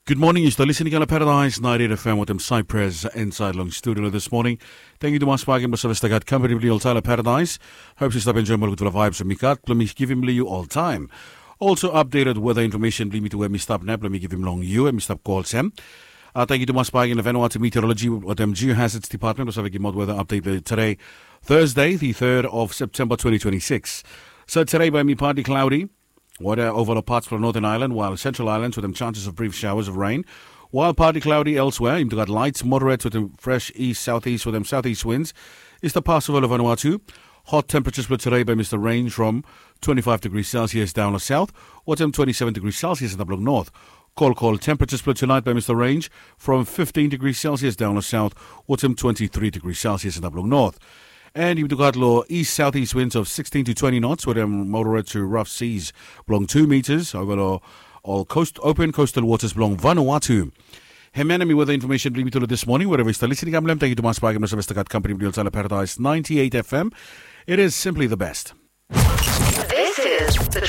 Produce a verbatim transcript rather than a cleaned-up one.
Gud moning, yu stap lisin i kam long Paradise ninety-eight F M wetem Cypress insaed long studio lo this morning. Tangkiu tumas bak i mas save stap gat kampani blong yu oltaem long Paradise. Hope yu stap enjoem ol gudfala vibes we mi gat blong mi givim long yu oltaem. Also updated weather information blong yumi tu we mi stap nao blong mi givim long yu we mi stap go olsem. Tangkiu tumas bak i long Vanuatu Meteorology wetem Geohazards Department we save givim out weather update long today, Thursday, the third of September twenty twenty-six. So today bae mi partly cloudy. Water over long parts from Northern Ireland, while Central Islands with them chances of brief showers of rain. While partly cloudy elsewhere, yumi tu gat light, moderate with them fresh east southeast with them southeast winds. Is the pass over Vanuatu. Hot temperatures for today by Mr. Range from twenty-five degrees Celsius down the south, with them twenty-seven degrees Celsius in the blue north. Cold, cold temperatures for tonight by Mr. Range from fifteen degrees Celsius down the south, with them twenty-three degrees Celsius in the blue north. And yumi tu gat lo east southeast winds of sixteen to twenty knots with them moderate to rough seas blong two meters over lo ol coast, open coastal waters blong Vanuatu. Hemia nao mi weather information blong yumi tu lo this morning, wherever yu stap lisin i kam long hem. Tangkiu tumas bak i mas save stap gat kampani blong yu oltaem long Paradise ninety-eight F M. It is simply the best. This is the